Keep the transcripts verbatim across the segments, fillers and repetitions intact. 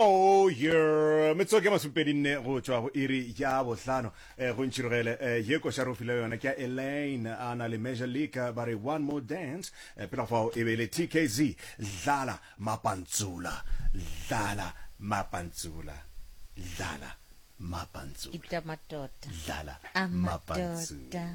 Oh yeah, metsotso ke masomepedi nne go tšwa go iri ya bohlano. Eh, go ntšhirogele eh, ye koša re o file yona ke ya Elaine a na le Major League eh, ba re one more dance. Eh, pela fao e be e le T K Z, dlala mapantsula, dlala mapantsula, dlala mapantsula. Itamatota. Dlala Amatota. mapantsula.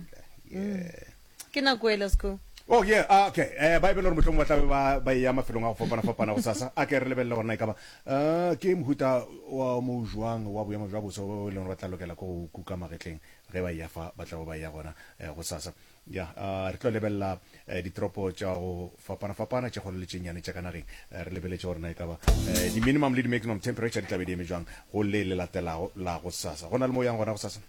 Yeah. Ke nako e let's go. Oh yeah, ah, okay. Eh ba e bele gore mohlomong ba tlabe ba ba ya mafelong a go fapana-fapana go sasa. A ke re lebelele gore na e ka ba uh, ke mohuta wa mo jwang wa boemo jwa boso bo e leng gore ba tla lokela ko go kuka magetleng ge ba ya fa ba tla bo ba ya gona eh, go sasa. Ya, uh, re tlo lebelela eh, ditoropo tša go fapana-fapana tše kgolo le tše nnyane tša ka nageng. Eh, re lebeletše gore na e ka ba eh, di-minimum le di-maximum temperature di tla be di eme jwang go le le latelago la go sasa. Go na le mo o yang gona go sasa?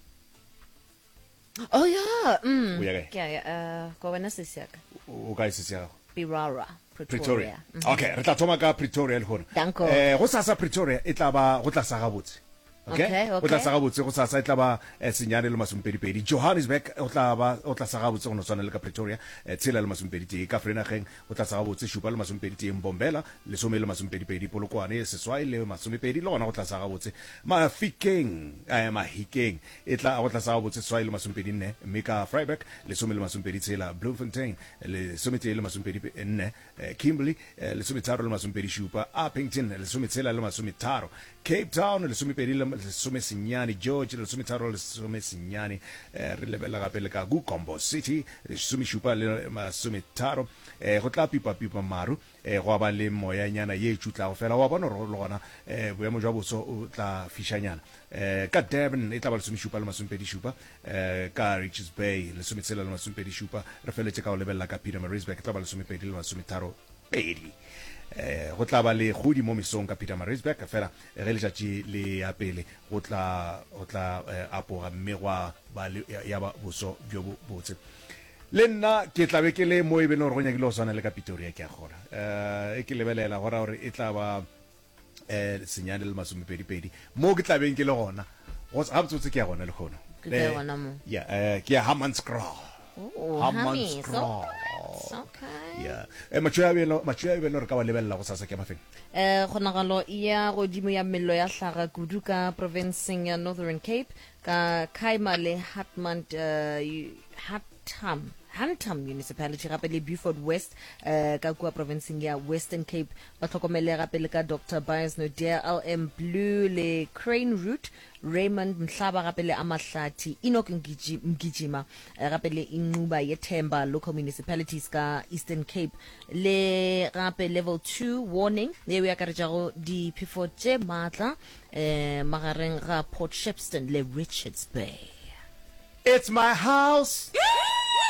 Oh yeah. Mm. O ya kae? Ke a ya uh, ko wena sesi ya ka. O o kae sesi ya gago? Pirara, Pretoria. Pretoria. Mm. Okay, re tla thoma ka Pretoria lehono. Danko. Eh go sasa Pretoria e tla ba go tla sa gabotse. Okay? Okay, Go tla okay. sa gabotse go sasa e tla ba eh, senyane le masomepedi pedi. Johannesburg go tla ba go tla sa gabotse go no tshwana le ka Pretoria, eh, tshela le masomepedi tee. Ka Vereeniging go tla sa gabotse šupa le masomepedi tee. Mbombela lesome le masomepedi pedi. Polokwane seswai le masomepedi le gona go tla sa gabotse. Mafikeng eh, Mahikeng e tla go tla sa gabotse seswai le masomepedi nne, mme ka Vryburg lesome le masomepedi tshela. Bloemfontein lesometee le masomepedi nne. eh, Kimberley eh, lesometharo le masomepedi šupa. Upington lesometshela le masometharo. Cape Town lesomepedi le lesomesenyane. George lesometharo le lesomesenyane. eh, re lebelela gape le ka Gombo City lesomešupa le masometharo. eh, go tla pipa-pipa maru, eh, go ba le moyanyana ye e tšutlago fela wa bona gore le gona eh, boemo jwa boso o tla fišanyana. eh, ka Durban e tla ba lesomešupa le masomepedi šupa. eh, ka Richards Bay lesometshela le masomepedi šupa. Re feletše ka go lebelela ka Pietermaritzburg, e tla ba lesomepedi le masometharo pedi. eh, go tla ba le godi mo mesong ka Pietermaritzburg, fela ge letšatši le ya pele go tla go tla eh, apoga mme gwa ba le ya ya ba boso bjo bo botse. Le nna ke tla be ke le mo e beng gore go nyakile go swana le ka Pretoria, ke a kgona um e ke lebelela go ra gore e tla ba eh senyane le masomepedi pedi mo ke tla beng ke le gona. Go gabotsebotse ke ya gona le kgono. Ke kae gona mo? Ya, eh ke ya Hammanskraal. Oh, Hammies. Hammanskraal. Okay. Ya, eh matšho a beno matšho a beno re ka wa lebelela go sasa ke a mafeng? Eh kgonagalo ya godimo ya mello ya hlaga kudu ka provinceng ya Northern Cape ka Khayma le Hartmont, uh, Hantam Hantam Municipality, gape le Beaufort West eh, ka kua provinceng ya Western Cape. Ba hlokomele gape le ka Doctor Bias Nodia, L M Blue le Crane Route, Raymond Mhlaba, gape le Amahlathi, Enoch Mgiji- Mgijima, eh, gape le Inxuba Yethemba local municipalities ka Eastern Cape. Le gape level two warning yeo e akaretšago diphefo tše maatla eh, magareng ga Port Shepstone le Richards Bay. It's my house.